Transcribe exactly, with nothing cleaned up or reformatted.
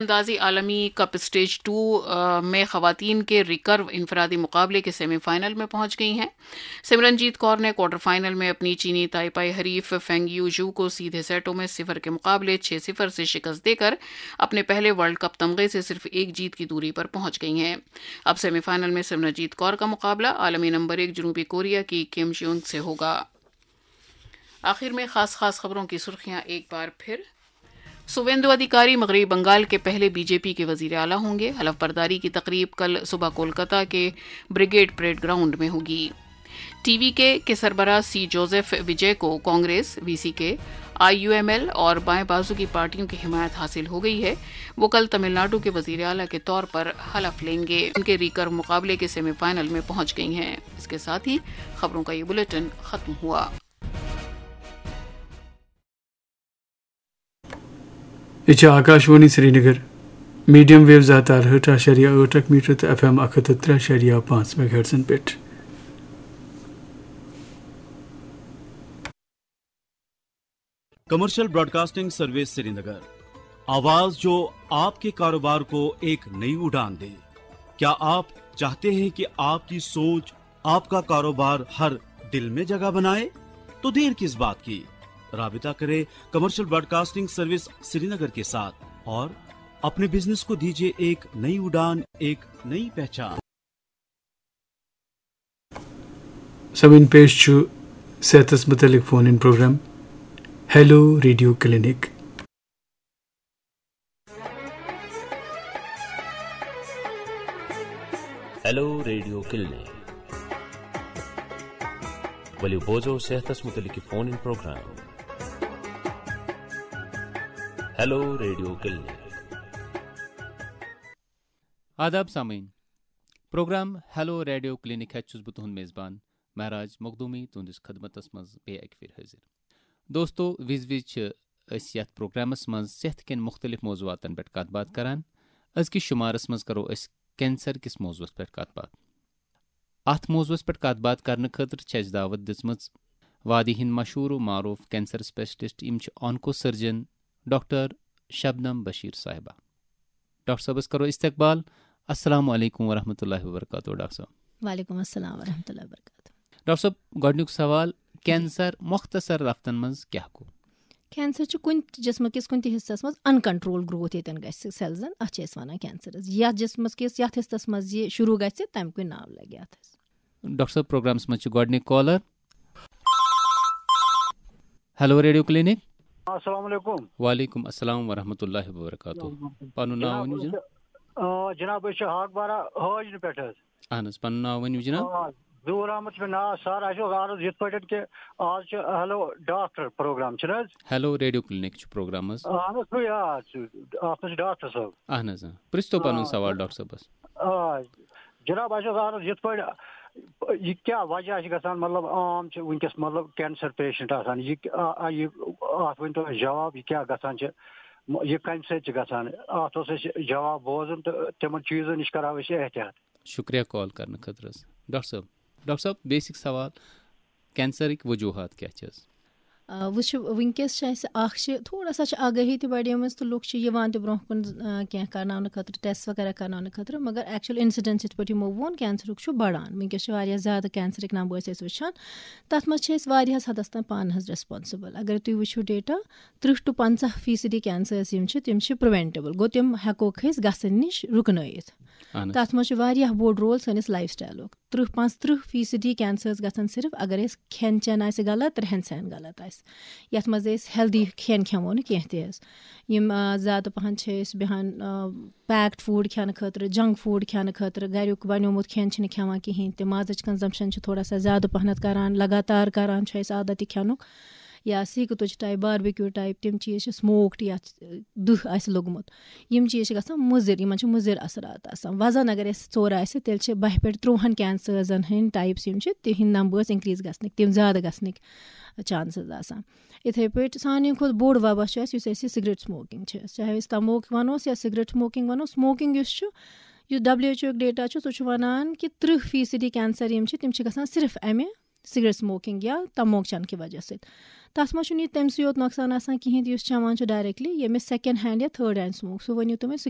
اندازی عالمی cup stage to میں خواتین کے ریکرو انفرادی مقابلے کے سیمی فائنل میں پہنچ گئی ہیں۔ سمرن جیت کور نے کوارٹر فائنل میں اپنی چینی تائپائی حریف فینگ یو ژو کو سیدھے سیٹوں میں صفر کے مقابلے چھ صفر سے شکست دے کر اپنے پہلے ورلڈ کپ تمغے سے صرف ایک جیت کی دوری پر پہنچ گئی ہیں۔ اب سیمی فائنل میں سمرن جیت کور کا مقابلہ عالمی نمبر ایک جنوبی کوریا کی کیم جیونگ سے ہوگا۔ آخر میں خاص خاص خبروں کی سرخیاں ایک بار پھر۔ سویندو ادھیکاری مغربی بنگال کے پہلے بی جے پی کے وزیر اعلیٰ ہوں گے۔ حلف برداری کی تقریب کل صبح کولکتہ کے بریگیڈ پریڈ گراؤنڈ میں ہوگی۔ ٹی وی کے کے سربراہ سی جوزف وجے کو Congress, V C K, I U M L اور بائیں بازو کی پارٹیوں کی حمایت حاصل ہو گئی ہے۔ وہ کل تمل ناڈو کے وزیر اعلیٰ کے طور پر حلف لیں گے۔ ان کے ریکرو مقابلے کے سیمی فائنل میں پہنچ گئی ہیں۔ اس کے ساتھ ہی خبروں کا یہ بلیٹن ختم ہوا۔ یہِ چھِ آکاشوانی سرینگر، میڈیم ویو زٕ ہَتھ تہٕ اَرہٲٹھ اَشاریہ ٲٹھ اکھ میٹر تہٕ ایف ایم اکھ ہَتھ تہٕ ترٛےٚ اَشاریہ پانٛژھ میگا ہرٹزن پٮ۪ٹھ۔ کمرشل براڈکاسٹنگ سروس سرینگر، آواز جو آپ کے کاروبار کو ایک نئی اڑان دے۔ کیا آپ چاہتے ہیں کہ آپ کی سوچ آپ کا کاروبار ہر دل میں جگہ بنائے؟ تو دیر کس بات کی؟ رابطہ کریں کمرشل براڈکاسٹنگ سروس سرینگر کے ساتھ اور اپنے بزنس کو دیجیے ایک نئی اڑان، ایک نئی پہچان۔ سامعین، پیش چھُ صحتس متعلق phone in programme hello radio clinic. Hello radio clinic. ؤلِو بوزو صحتس متعلق phone in programme. Hello radio clinic. آداب سامعین، پروگرام ہیلو ریڈیو کلینک ہیتھ چھُس بہٕ تُہُنٛد میزبان مہراج مخدومی تُہنٛدِس خدمتس منٛز بیٚیہِ اکہِ پھِرِ حٲضِر۔ دوستو، وِزِ وِزِ چھِ أسۍ یتھ پروگرامس منٛز صحت کٮ۪ن مُختٔلِف موضوعاتن پٮ۪ٹھ کتھ باتھ کران۔ أزکِس شُمارس منٛز کرو أسۍ کینسر کِس موضوعس پٮ۪ٹھ کتھ باتھ۔ اتھ موضوعس پٮ۪ٹھ کتھ باتھ کرنہٕ خٲطرٕ چھِ اَسہِ دعوت دِژمٕژ وادی ہٕنٛدۍ مشہوٗر و معروٗف کینسر اسپیشلسٹ، یِم چھِ آنکو سرجن ڈاکٹر شبنم بشیر صاحبہ۔ ڈاکٹر صٲبس کرو استقبال۔ السلام علیکم ورحمۃ اللہ وبرکاتہ۔ ڈاکٹر صٲب۔ وعلیکم السلام ورحمۃ اللہ وبرکاتہ۔ ڈاکٹر صٲب، گۄڈٕنیُک سوال، کینسر مۄختصر لفظن منٛز کیٛاہ گوٚو؟ کینسر چھُ کُنہِ تہِ جسمہٕ کِس کُنہِ تہِ حصس منٛز ان کنٹرول گروتھ ییٚتٮ۪ن گژھِ سیلزن، اتھ چھِ أسۍ ونان کینسرس۔ یتھ جسمس کِس یتھ حصس منٛز یہِ شروع گژھِ، تمہِ کُے ناو لگہِ اتھ۔ ڈاکٹر صٲب، پروگرامس منٛز چھِ گۄڈٕنِکۍ کالر۔ Hello radio clinic. السلام علیکم۔ وعلیکم السلام ورحمۃ اللہ وبرکاتہ۔ پنُن ناو ؤنِو جناب۔ آ، جناب، أسۍ چھِ ہاکبارہ حٲجنہٕ پٮ۪ٹھ حظ۔ اہن حظ، پنُن ناو ؤنِو جناب۔ آ، ظہور احمد چھُ مےٚ ناو۔ سر، اَسہِ اوس عرض یِتھ پٲٹھۍ کہِ آز چھُ ہیلو ڈاکٹر پروگرام، چھُنہٕ حظ؟ ہیلو ریڈیو کلینک چھُ پروگرام حظ۔ اہن حظ، سُے، آ، سُہ، اَتھ منٛز چھُ ڈاکٹر صٲب۔ اہن حظ، آ۔ پرٛژھتو پنُن آ، سوال ڈاکٹر صٲبس۔ آ، جناب، اَسہِ اوس عرض یِتھ پٲٹھۍ، یہِ کیٛاہ وجہ چھِ گژھان، مطلب، عام چھِ وٕنکیٚس، مطلب، کینسر پیشنٹ آسان، یہِ، آ، آ، یہِ، اَتھ ؤنۍ تو اَسہِ جواب، یہِ کیٛاہ گژھان چھِ، یہِ کَمہِ سۭتۍ چھِ گژھان؟ اَتھ اوس اَسہِ جواب بوزُن تہٕ تِمن چیٖزن نِش کَرو أسۍ احتیاط۔ شُکریہ کال کرنہٕ خٲطرٕ حظ۔ ڈاکٹر صٲب، ڈاکٹر صٲب، بیسک سوال، کینسرٕکۍ وجوہات کیٛاہ چھِ حظ؟ آ، وٕچھِو، وٕنکیٚس چھِ اَسہِ اَکھ چھِ تھوڑا سا چھِ آگٲہی تہِ بڑیمٕژ تہٕ لُکھ چھِ یِوان تہِ برونٛہہ کُن، آ، کینٛہہ کرناونہٕ خٲطرٕ، ٹیسٹ وغیرہ کرناونہٕ خٲطرٕ، مگر ایکچوئل انسیڈنس یِتھ پٲٹھۍ یِمو ووٚن، کینسرُک چھُ بڑان۔ وٕنکیٚس چھِ واریاہ زیادٕ کینسرٕکۍ نمبٲرس أسۍ وٕچھان، تَتھ منٛز چھِ أسۍ واریاہس حدس تام پانہٕ حظ ریسپانسبل۔ اگر تُہۍ وٕچھِو ڈیٹا، تٕرٛہ to پنٛژاہ فیٖصدی کینسرس یِم چھِ، تِم چھِ پرٛوینٹیبل، گوٚو تِم ہٮ۪کوکھ أسۍ گژھن نِش رُکنٲیِتھ۔ اہن حظ۔ تَتھ منٛز چھُ واریاہ بوٚڑ رول سٲنِس لایف سٹایلُک۔ تٕرٛہ، پانٛژھ تٕرٛہ فیٖصدی کینسرس گژھن صرف اگر أسۍ کھٮ۪ن چٮ۪ن آسہِ غلط، رہن سہن غلط آسہِ، یَتھ منٛز أسۍ ہیلدی کھٮ۪ن کھٮ۪مو نہٕ کینٛہہ تہِ حظ۔ یِم، آ، زیادٕ پَہَن چھِ أسۍ بیٚہان، آ، پیکڈ فوڈ کھٮ۪نہٕ خٲطرٕ، جنک فوڈ کھٮ۪نہٕ خٲطرٕ، گَریُک بَنیومُت کھٮ۪ن چھِنہٕ کھٮ۪وان کِہیٖنۍ تہِ، مازٕچ کنزمپشن چھِ تھوڑا سا زیادٕ پَہنَتھ کَران، لگاتار کَران چھُ اَسہِ عادت یہِ کھٮ۪نُک۔ یا سیٖکہٕ تُج ٹایپ، باربیکیوٗ ٹایپ، تِم چیٖز چھِ، سموکڈ یَتھ دٕہ آسہِ لوٚگمُت، یِم چیٖز چھِ گژھان مُضِر، یِمن چھِ مُضِر اثرات آسان۔ وزن اگر اَسہِ ژوٚر آسہِ، تیٚلہِ چھِ بَہہِ پٮ۪ٹھ تُرٛوہَن کینسرزن ہٕنٛدۍ ٹایپس یِم چھِ، تِہِنٛدۍ نمبٲرس اِنکریٖز گژھنٕکۍ، تِم زیادٕ گژھنٕکۍ چانسز آسان۔ یِتھَے پٲٹھۍ سانہِ کھۄتہٕ بوٚڑ وبا چھُ اَسہِ، یُس اَسہِ یہِ سِگریٹ سموکِنگ چھِ، چاہے أسۍ تموک وَنوس یا سِگریٹ سموکِنگ وَنوس، سموکِنگ یُس چھُ، یُس ڈبلیو ایچ او یُک ڈیٹا چھُ، سُہ چھُ وَنان کہِ تٕرٛہ فیٖصدی کینسر یِم چھِ، تِم چھِ گژھان صرف اَمہِ سگریٹ سموکنگ یا تموک چنہٕ کہِ وجہ سۭتۍ۔ تتھ منٛز چھُنہٕ یہِ تٔمۍ سٕے یوت نۄقصان آسان کِہیٖنۍ تہِ یُس چٮ۪وان چھُ ڈائریکٹلی، ییٚمِس سیکنڈ ہینڈ یا تھٲرڈ ہینڈ سموک، سُہ ؤنِو تُہۍ مےٚ، سُہ